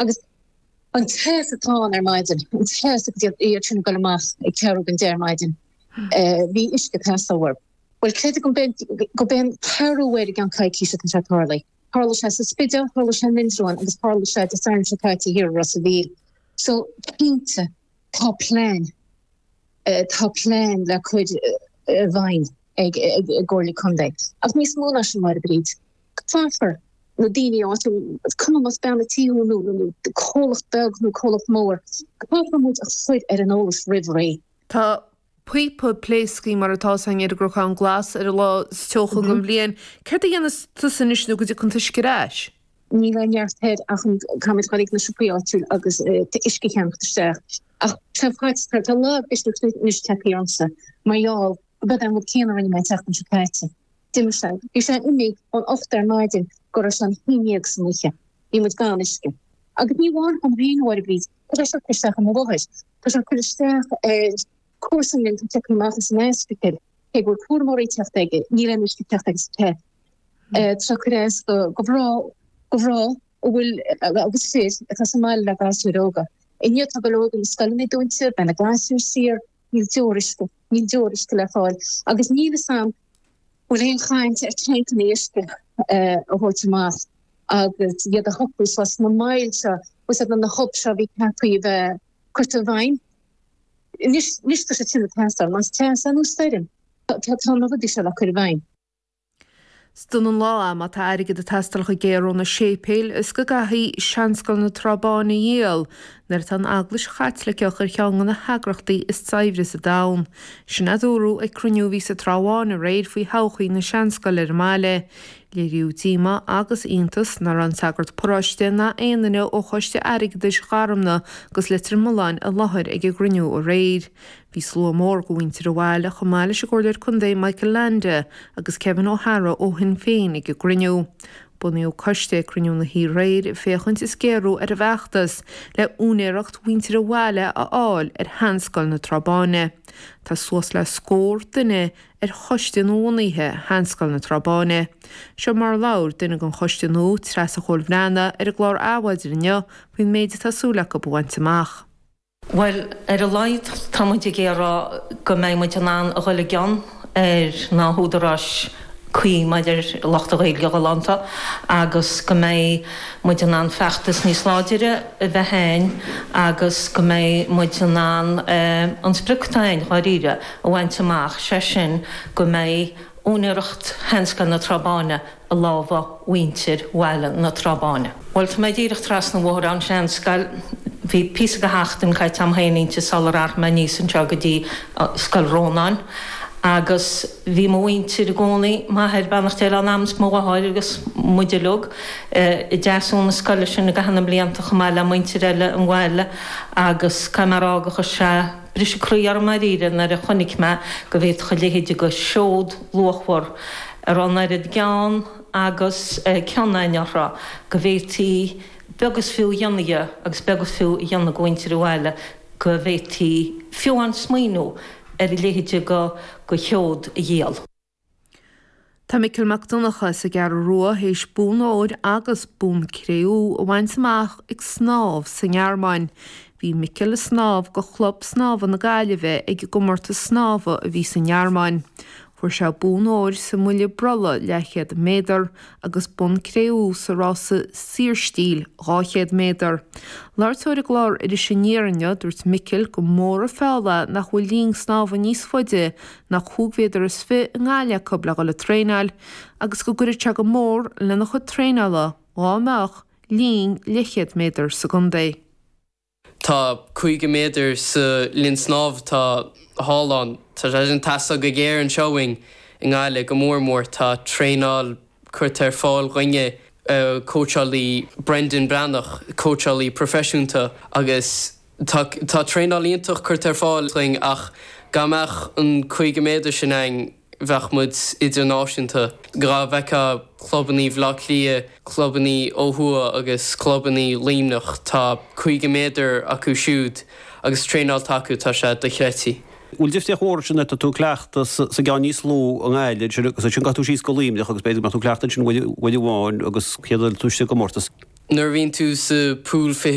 Agus an teas atá ann ar maidin, an teas agus iad iad sin ag dul amach ag ceathrú don deich ar maidin, bhí uisce ag teastáil uathu. Bhuel, creid go gurb é an ceathrú uair i gceann coicíse atá sé tarlaithe. Tharla sé sa Spidéal, tharla sé in Indreabhán agus tharla sé Dé Sathairn seo caite thiar i Ros a' Mhíl. So, cinnte, tá plean, tá plean le cur i bhfeidhm ag an gComhairle Contae. Ach níos mó ná sin, Máire Bríd, caithfear na daoine áitiúil, is cuma más bean a' tí thú nó comhlacht beag nó comhlacht mór, caithfear muid a chur ar an eolas roimh ré. Tá píopa pléasctha mar atá 's againn ar an gCnocán Glas ar an lá is teocha den bhliain. Céard a dhéanfas tusa anois nó go dtiocfaidh an t-uisce ar ais? Níl aon neart air ach an caithfimid dul ag na siopaí áitiúil agus uisce a cheannacht isteach. Ach tá faitíos orm, tá lagmhisneach anois tagtha ormsa mar gheall gurb é an rud céanna a rinne mé an tseachtain seo caite. D'imigh sé. Bhí sé imithe ón 8 ar maidin go raibh sé an haon dhéag san oíche. Bhí muid gan uisce. Agus ní amháin dhom féin, a Mháire Bríd, tá sé ag cur isteach ar mo mháthair. Tá sé ag cur isteach ar comharsan linn atá tagtha amach as an ospidéal. Cé go bhfuil cúramóirí ag teacht aige, níl aon uisce ag teacht aige sa te. Tá sé ag cur as do mhná, do mhná a bhfuil agus fir atá sa mbaile le gasúir óga. Inniu tá go leor de na scoileanna dúnta, beidh na gasúir saor, níl deoir uisce, níl deoir uisce le fáil agus níl fhios a'm bhfuil aon chaint ar tancanna uisce a thabhairt amach agus iad a shocrú suas sna moil seo, bhfuil fhios a'd na hubs seo a bhí ceaptha a bheith curtha i bhfeidhm. Anois, anois tá siad sin ag teastáil, más teas é nó stoirm, tá tá na rudaí seo le cur i bhfeidhm. Is dona an lá é má tá airgead ag teastáil go géar ó na séipéil is go gcaithfí Seanscoil na Trá Báine a dhíol nuair atá an Eaglais Chaitliceach ar cheann de na heagrachtaí is saibhre sa domhan. Sin a dúradh ag cruinniú a bhí sa Trá Bháin aréir faoi thodhchaí na seanscoile ar an mbaile. Léiríodh díomá agus iontas nach raibh an sagart paróiste ná aon duine ó Choiste Airgeadais Gharmna agus Leitir Mealláin i láthair ag an gcruinniú aréir. Bhí slua mór de mhuintir an bhaile chomh maith leis an gComhairleoir Contae Michael Leainde agus Kevin O'Hara ó Shinn Féin ag an gcruinniú. Bunaíodh coiste ag cruinniú na hoíche aréir féachaint is géarú ar an bhfeachtas le úinéireacht mhuintir an bhaile a fháil ar Sheanscoil na Trá Báine. Tá suas le scór duine ar choiste nuabhunaithe Sheanscoil na Trá Báine. Seo mar a labhair duine den choiste nua, Treasa Chóil Bhreathnaigh, ar an gclár Adhmhaidin inniu faoin méid atá súil acu a bhaint amach. Bhuel, ar a laghad tá muid ag iarraidh go mbeidh muid in ann a dhul i gcion ar na húdaráis cuí maidir le lucht an Ghaeilge ghalánta agus go mbeidh muid in ann feachtas níos láidire a bheith a'ainn agus go mbeidh muid in ann an sprioc atá a'ainn, dháiríre, a bhaint amach, sé sin go mbeidh úinéireacht Sheanscoil na Trá Báine i lámha mhuintir bhaile na Trá Báine. Bhuel, tá mé díreach trasna an bhóthair ón seanscoil. Bhí píosa de sheachtain caite a'm féin inti sular athraigh mé aníos anseo go dtí Scoil Rónáin. Agus bhí mo mhuintir i gcónaí, m'athair, beannacht Dé lena anam, 's mo mháthair agus muid uilig, i dteasú na scoile sin i gcaitheamh na mblianta chomh maith le muintir eile an bhaile agus caithfidh mé a rá gur chuir sé briseadh croí orm dáiríre nuair a chonaic mé go bhféadfadh a leithéid de sheod luachmhar a raibh an oiread gean agus cion a'ainn orthu go bhféadfaí beag is fiú a dhéanamh dhe agus beag is fiú a dhéanamh go mhuintir an bhaile go bhféadfaí fiú amháin smaoineamh ar a leithéid de sheod a dhíol. Tá Micil Mac Donncha as an gCeathrú Rua théis bonn óir agus bonn cré-umha a bhaint amach ag snámh sa nGearmáin. Bhí Micil ag snámh go Chlub Snámha na Gaillimhe ag an gcomórtas snámha a bhí sa nGearmáin. Fuair sé bonn óir sa mbuille brollaigh leathchéad méadar agus bonn cré-umha sa rása saorstíl 200 méadar. Labhairt dó ar an gclár Iris Aniar inniu, dúirt Micil gur mór an feall é nach bhfuil linn snámha níos faide ná cúig mhéadar is fi i nGaillimh acu le dhul ag traenáil agus go gcuirfeadh sé go mór lena chuid traenála dhá mbeadh linn leathchéad méadar sa gcontae. Tá 50 méadar sa linn snámh atá thall ann. Tá sé sin ag teastáil go géar anseo uainn i nGaillimh, go mór mór. Tá traenáil curtha ar fáil dhúinne, cóitseálaí Brendan Breathnach, cóitseálaí proifisiúnta agus tá tá traenáil iontach curtha ar fáil dhuinn ach dá mbeadh an 50 méadar sin a'inn, bheadh muid idirnáisiúnta. Dhá bhfeicfeá clubannaí Bhaile Átha Cliath, clubannaí ó thuaidh agus clubannaí Luimneach, tá 50 méadar acu siúd agus traenáil atá acu, tá sé dochreidte. Bhfuil difríocht mhór ansin tá tú ag cleachtadh sa gceann níos lú i nGaillimh ansin agus ansin gabhfaidh tú síos go Luimneach agus b'fhéidir go mbeadh tú ag cleachtadh ansin uair amháin agus chéad uair tú istigh i gcomórtas. Nuair a bhíonn tú sa pool 20.